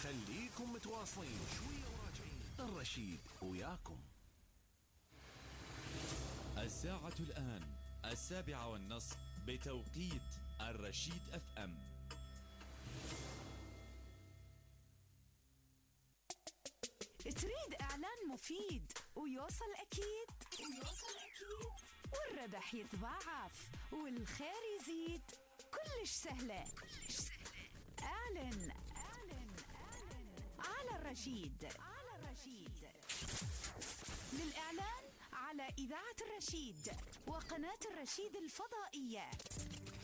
خليكم متواصلين شوية وراجعين. الرشيد وياكم. الساعة الآن 7:30 بتوقيت الرشيد FM. تريد إعلان مفيد ويوصل أكيد والربح يتضاعف والخير يزيد، كلش سهلة. اعلن على الرشيد. للإعلان على إذاعة الرشيد وقناة الرشيد الفضائية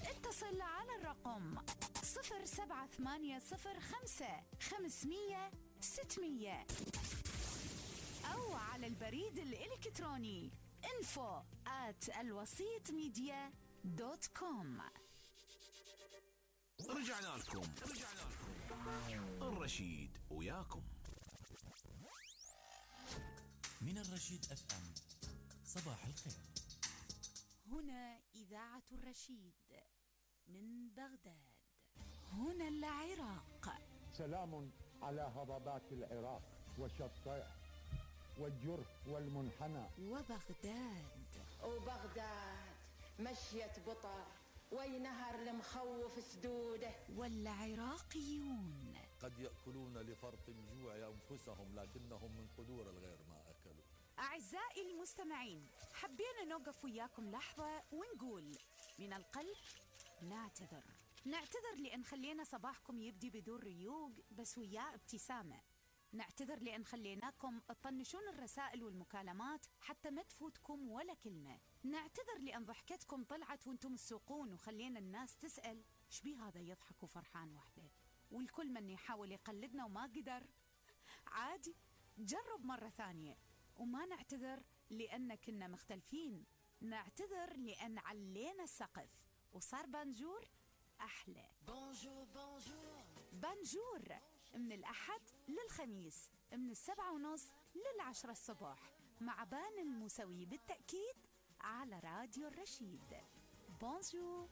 اتصل على الرقم 07805 أو على البريد الإلكتروني info@alwasitmedia.com. رجعنا لكم. الرشيد وياكم. من الرشيد FM. صباح الخير. هنا إذاعة الرشيد من بغداد. هنا العراق. سلام على هضبات العراق وشطائح والجرف والمنحنى. وبغداد مشيت بطر وينهر المخوف سدوده. والعراقيون قد يأكلون لفرط الجوع أنفسهم لكنهم من قدور الغير ما أكلوا. أعزائي المستمعين، حبينا نوقف وياكم لحظة ونقول من القلب نعتذر لأن خلينا صباحكم يبدي بدون ريوق بس وياه ابتسامة. نعتذر لأن خليناكم تطنشون الرسائل والمكالمات حتى ما تفوتكم ولا كلمة. نعتذر لأن ضحكتكم طلعت وانتم تسوقون وخلينا الناس تسأل ايش بيه هذا يضحك وفرحان وحده، والكل من يحاول يقلدنا وما قدر. عادي، جرب مرة ثانية. وما نعتذر لأن كنا مختلفين، نعتذر لأن علينا السقف وصار بانجور أحلى. بانجور من الأحد للخميس من 7:30 ل10 الصبح مع بان الموسوي بالتأكيد على راديو الرشيد. بونجور.